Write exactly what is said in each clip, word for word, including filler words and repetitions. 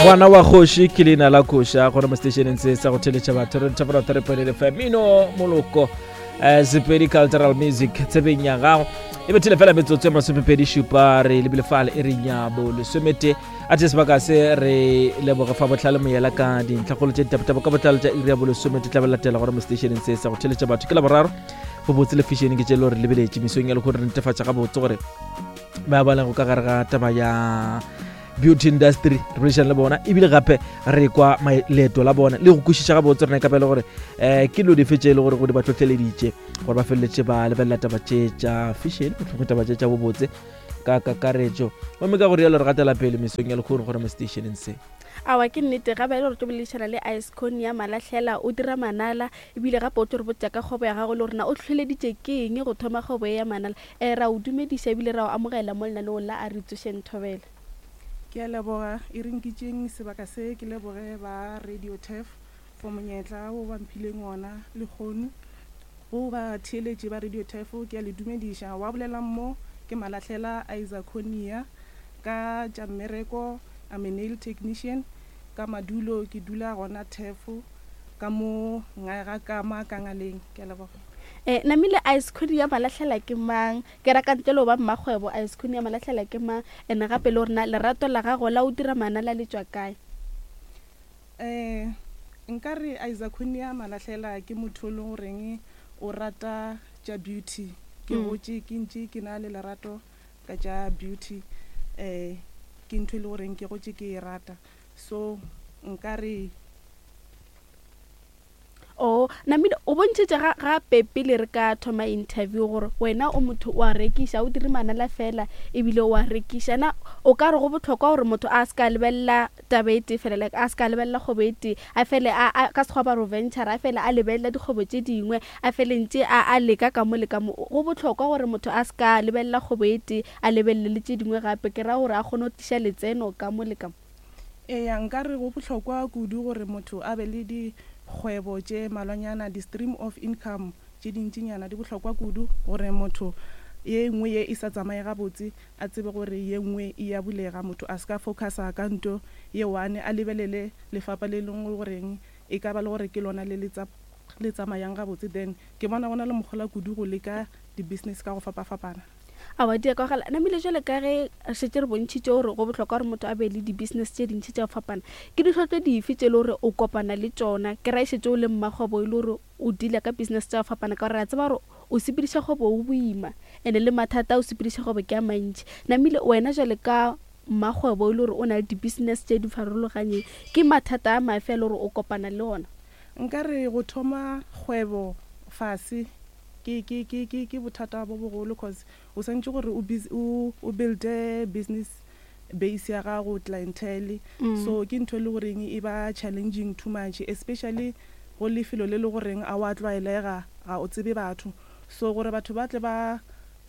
Ngwana wa kgoši ke leina la koša gona mo stationeng se sa go theletša batho re thapela thare fm mino moloko um Sepedi cultural music tsebeng ya gago e bethile fela metsotso e masomepedi šupa re lebile fale e re nyabo lesomete a the sebaka se re leboge fa botlhale moyela ka dintlhakgolo tše ditapotabo ka botlalo tša iri ya bolesomete tla be latela gona mo stationeng se sa go theletša batho ke la boraro bobotse le fashion ke tše le gore lebeletše mesong ya lekgono re netefatša gabotse gore ba ba lego ka gare ga taba ya beauty industry re boledišana le bona ebile gape re kwa leeto la bona le go kwešiša gabotse rena ka pele gore um ke dilo dife tše e le gore go di ba tlhotlheleditše gore ba feleletše ba lebelela taba tše tša fashion mohlomongwe taba tše tša bobotse ka kakaretšo gomme ka go rialo re gatela pele mesong ya lekgono gore mo stationeng se. Awa, ke nnete ga ba e le gore tlo boledišana le Iceconia Malahlela, o dira manala ebile gape o tlo re botša ka kgwebo ya gago le gore na o tlhohleleditše ke eng go thoma kgwebo e ya manala. um ra o dumediša ebile ra o amogela mo lenaneong la A Re Tsošeng Thobela. Ke a leboga, e re nkitšeng sebaka se ke leboge ba Radio Turf for monyetla wo ba mphileng wona lekgono. Go ba theeletše ba Radio Turf ke a le dumediša. Wa bolelang mo ke Malahlela Isaconia ka tša mmereko, I'm a nail technician. Ka madulo ke dula gona Turf ka mo ngae ga kama ka ngaleng. Ke a leboga. um namile Iceconia Malahlela ke mang? Ke raka ntle le go ba mmakgwebo, Iceconia Malahlela ke mang? And gape le gore na lerato la gago la o dira manala le tšwa kae? um nka re Isaconia Malahlela ke motho o leng goreng o rata tša beauty. Ke Mm. gotše ke ntše ke na le lerato ka tša beauty, um ke ntho e le goreng ke gotše ke e rata, so nka re O namile o bontšhitše ga gape pele re ka thoma interview gore wena o motho o a rekiša, o dire manala fela ebile o a rekiša. Na o ka re go bohlokwa gore motho a se ka lebelela taba e tee fela, like a se ka lebelela kgwebo e tee, a fele a a ka sekgwa ba re venture, a fele a lebelela dikgwebo tše dingwe, a fele ntše a a leka ka mo le ka mo? Go bohlokwa gore motho a se ka lebelela kgwebo e tee, a lebelele le tše dingwe gape, ke ra gore a kgone go tliša letseno ka mo le ka mo? Eya, nka re go bohlokwa kudu gore motho a be le dikgwebo tše malwanyana, di-stream of income tše dintšinyana di bohlokwa kudu gore motho ye nngwe ye e sa tsamaye gabotse a tsebe gore ye nngwe e ya bulega. Motho a se ka focusa ka nto ye one, a lebelele lefapha le lengwe goreng e ka ba le gore ke lona le le le tsamayang gabotse, then ke bona go na le mohola kudu go leka di-business ka go fapafapana. Awa, di a kwagala. Namile jwale ka ge re šetše re bontšhitše gore go bohlokwa gore motho a be le di-business tše dintši tša go fapana, ke ditlhotlo dife tše e le gore o kopana le tšona, ke ra e šetše o le mmakgwebo e le gore o deala ka business tša go fapana? Ka gore re a tseba gore o sepediša kgwebo o boima and le mathata a o sepediša kgwebo ke a mantši. Namile wena jwale ka mmakgwebo e le gore o na le di-business tše di farologanyeng, ke mathata a mafe a le gore o kopana le ona? Nka re go thoma kgwebo fase ke ke ke ke ke bothata bo bogolo, cause o swantše gore o o o builde business base ya gago, clientele. Mm. So ke ntho e le goreng e ba challenging too much, especially go lefelo le le goreng a wa tlwaelega, ga o tsebe batho, so gore batho ba tle ba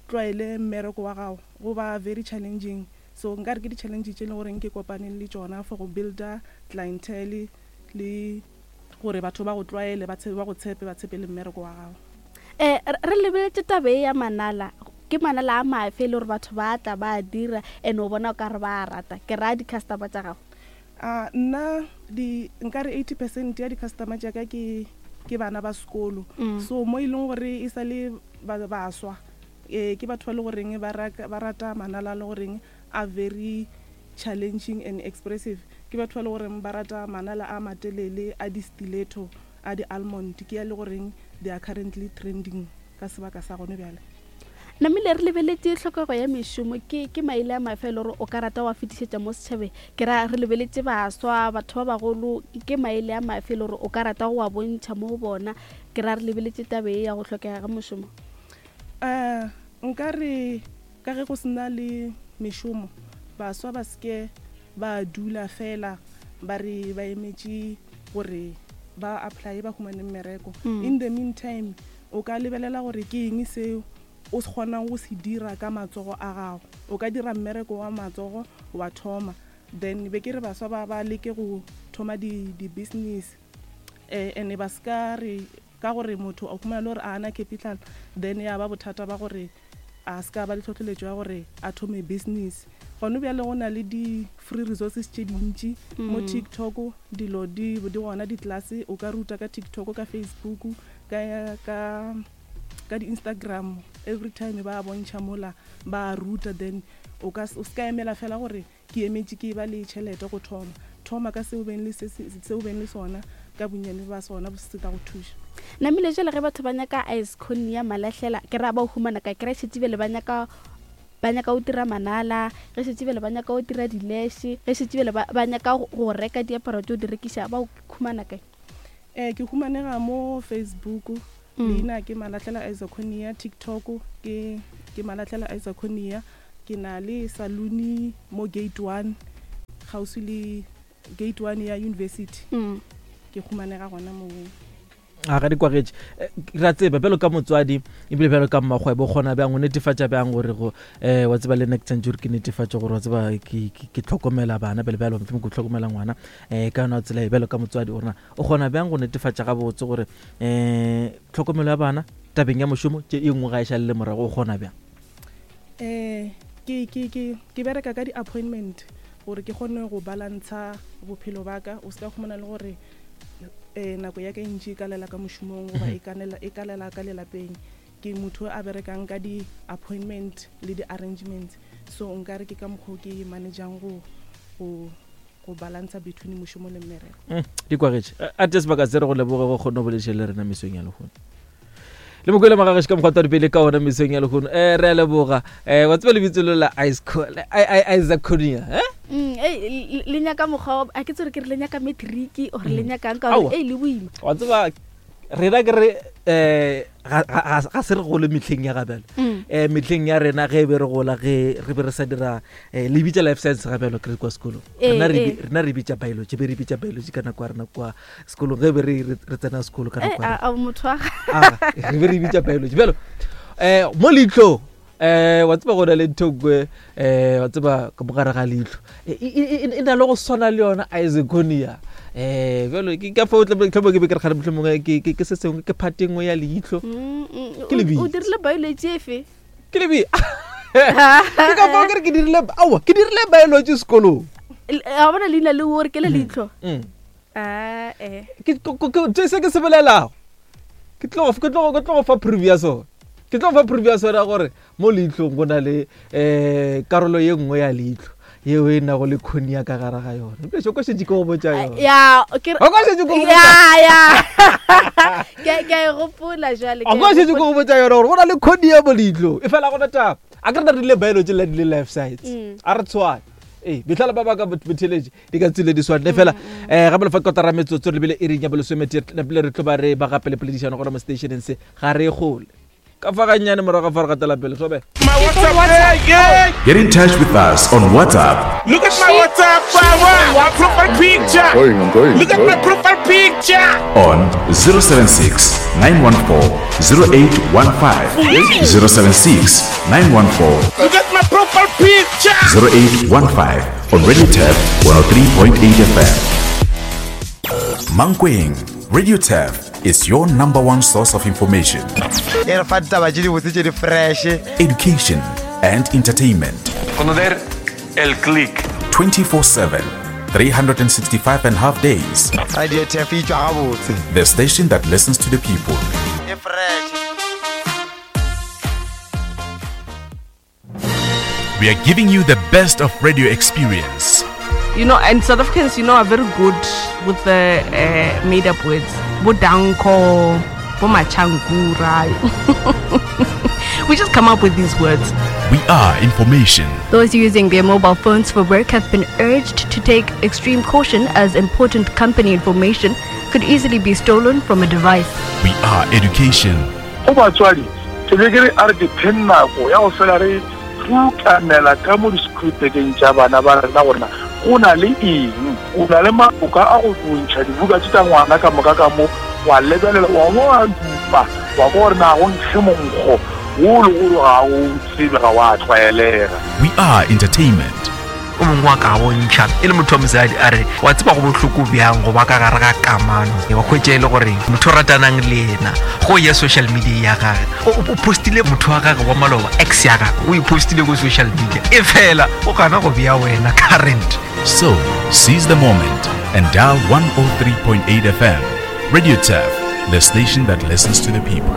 tlwaele mmereko wa gago go ba very challenging. So nka re ke di-challenge tše e leng goreng ke kopaneng le tšona for go builda clientele le gore batho ba go tlwaele, ba tsebe, ba go tshepe, ba tshepe le mmereko wa gago. um re lebeletše taba e ya manala, ke manala a mafe e le gore batho ba tla ba a dira and o bona o ka re ba a rata? Ke raya di-customer tša gago. A nna di nka re eighty percent ya di-customer tša ka ke ke bana ba sekolo. Mm. So mo e leng gore e sa le ba baswa, um ke batho ba le goreng ba ba rata manala a le goreng a very challenging and expressive. Ke batho ba le goreng ba rata manala a matelele a di-stiletto, a di-almond, ke ya le goreng they are currently trending ka sebaka sa gone bjale. Namile re lebeletše tlhokego ya mešomo, ke ke maele a mafe e le gore o ka rata wa fetišetša mo setšhabeng? Ke ra re lebeletše baswa, batho ba bagolo, ke maele a mafe e le gore o ka rata go wa bontšha mo go bona? Ke ra re lebeletše taba e ya go tlhokega ga mošomo. um nka re ka ge go sena le mešomo, baswa ba seke ba dula fela ba re ba emetše gore ba apply ba humane mmereko. Mm. In the meantime o ka lebelela gore ke eng seo o se kgonang go se dira ka matsogo a gago, o ka dira mmereko wa matsogo wa thoma. Then be ke re baswa ba ba leke go thoma di-business, um and ba se ka re ka gore motho o humana le gore a ana capital, then ya ba bothata ba gore a se ka ba le tlhotlheletšo ya gore a thome business. Gone bjale go na le di-free resources tše dintši mo Mm. TikTok, dilo di di gona, di-class o ka ruta ka TikTok, ka Facebook, ka ka ka di-Instagram. Every time ba bontšha mola ba ruta, then o ka o ska emela fela gore ke emetše ke ba le tšhelete go thoma. Thoma ka seo beng le se seo beng le sona, ka bonnyane ba sona bo se tla go thuša. Namile, jale ge batho ba nyaka Iconia Malahlela, ke ra ba o humana ka kry šetse bele ba nyaka ba nyaka go dira manala, ge šetse bele ba nyaka go dira di-lash, ge šetse bele ba ba nyaka go go reka diaparo tse o di rekiša, ba o humana kae? um ke humanega mo Facebook. Mm. Leina ke Malahlela Isoconia. TikTok ke ke Malahlela Isoconia. Ke na le saluni mo gate one, kgauswi le gate one ya university. Mm. Ke humanega gona moo. A ga di kwagetše. Eh, ra tseba bjalo ka motswadi ebile bjalo ka mmakgwebo, o kgona bjang o netefatša bjang gore go um wa tseba le nna ke tshwanetse gore ke netefatše gore wa tseba ke ke- ke tlhokomela bana bjale bjalo, mohlomong ke tlhokomela ngwana um ka yona tsela e bjalo ka motswadi, gorena o kgona bjang go netefatša gabotse gore um tlhokomelo ya bana tabeng ya mošomo tše e nngwe ga e šalele morago, o kgona bjang? um ke ke ke ke bereka ka di-appointment gore ke kgone go balantsha bophelo ba ka. O se ka khumana le gore um nako ya ka e ntši e kalela ka mošomong goba e kanela- e kalela ka lelapeng. Ke motho a berekang ka di-appointment le di-arrangements, so nkare ke ka mokgwa o ke managang go go go balantsha between mošomo le mmereko. Mm, di kwagetše. A te sebaka se re go leboge go kgone go bolediša le rena mesong ya lehono le mokwele magagešo ka mokgwa pele ka ona mesong ya lehono. um re a leboga. um wa tseba lebitso le la Isoconia, eh? Mm, ei, le- le nyaka mokgwa wa- a ke tsore ke re le nyaka matric or le nyakang ka Aowa. gore ei le boima. Wa tseba rena ke re um ga ga se re gole metlheng ya gabjalo. Mm. um metlheng ya rena ge e be re gola, ge re be re sa dira um le bitša life science gabjalo ke re kwa sekolong. Eh, Rena re eh. bi- rena re bitša biology, be re bitša biology ka nako ya rena kwa sekolong ge be re re re tsena sekolo ka Eh, nako ya rena. a a motho wa ga- Aga, re be re bitša biology bjalo um mo leitlhong um wa tseba go na le ntho nngwe um wa tseba ka mogare ga leitlho e e- e- e na le go swana le yona Isoconia. um bjalo ke ka fao tlhomo ke be ke re kgale mohlomongwe ke ke- ke se sengwe, ke phate nngwe ya leitlho. Mm, mm, Ke o- lebitso. o dirile biology efe? Ke lebi ke ka fao ke re ke dirile, aowa, ke dirile biology sekolong. L- a bona leina le ore ke le leitlho. Mm. Ah, eh. Ke- ko- ko- ko- se ke se bolelago, ke tlo go- ke tlo go- ke tlo go fa proof ya sona, ke tlo go fa proof ya sona gore mo leitlhong go na le um karolo ye nngwe ya leitlho yeo e nago le cornea ka gare ga yona. Ebile ko šetše ke go botša yona. Ya ke re- O ka šetše ke go ya botša. ya ke ke a e gopola jwale, ke A a ko e šetše ke gopola. go botša yona gore go na le cornea mo leitlhong, e fela gona taba a ke re na rile biology le le life science. Mm. A re tshwane ee metlhala ba baka botheletše di ka tsile di swane fela um gape lefa kotara metsotso re lebile iring ya bolesomete napile re tlo ba re ba gape le poledišano gona mo stationeng se ga re gole ka fa gannyane morago ga fa re gatela pele sobe. My WhatsApp, yeah, yeah. Get in touch with us on WhatsApp Look at my WhatsApp, power. My profile picture. Going, I'm going. Look at my profile picture. on zero seven six nine one four zero eight one five. zero seven six nine one four Look at my profile picture. zero eight one five on Radio Turf one oh three point eight F M. Mankweng, Radio Turf is your number one source of information, e re fa ditaba tše dibotse tše di fresh, education, and entertainment. Conocer el click. twenty-four seven, three hundred sixty-five and a half days. Radio Turf e tšwa gabotse. The station that listens to the people. E fresh. We are giving you the best of radio experience. You know, and South Africans, you know, are very good with the uh, made-up words. Bodanko, Bomachankura. We just come up with these words. We are information. Those using their mobile phones for work have been urged to take extreme caution as important company information could easily be stolen from a device. We are education. Go batswadi ke be ke re a re diphe nako ya go fela re rutamela ka mo di-screwtekeng tša bana ba rena gorena go na le eng, o na le maboka a go bontšha dibuka tše tša ngwana ka moka ka mo wa lebelela wa bo wa dupa wa kwa gore na go nkge monkgo wo le gore ga o tsebe ga wa tlwaelega. We are entertainment. O mongwe wa ka bontšha e le motho wa mosadi a re wa tseba go bohloko bjang go ba ka gare ga kamano wa hwetša e le gore motho o ratanang le yena go ya social media ya gage o o postile motho wa gage wa maloba ex ya gage o e postile ko social media e fela o gana go bea wena current So, seize the moment and dial one oh three point eight F M. Radio Turf, the station that listens to the people.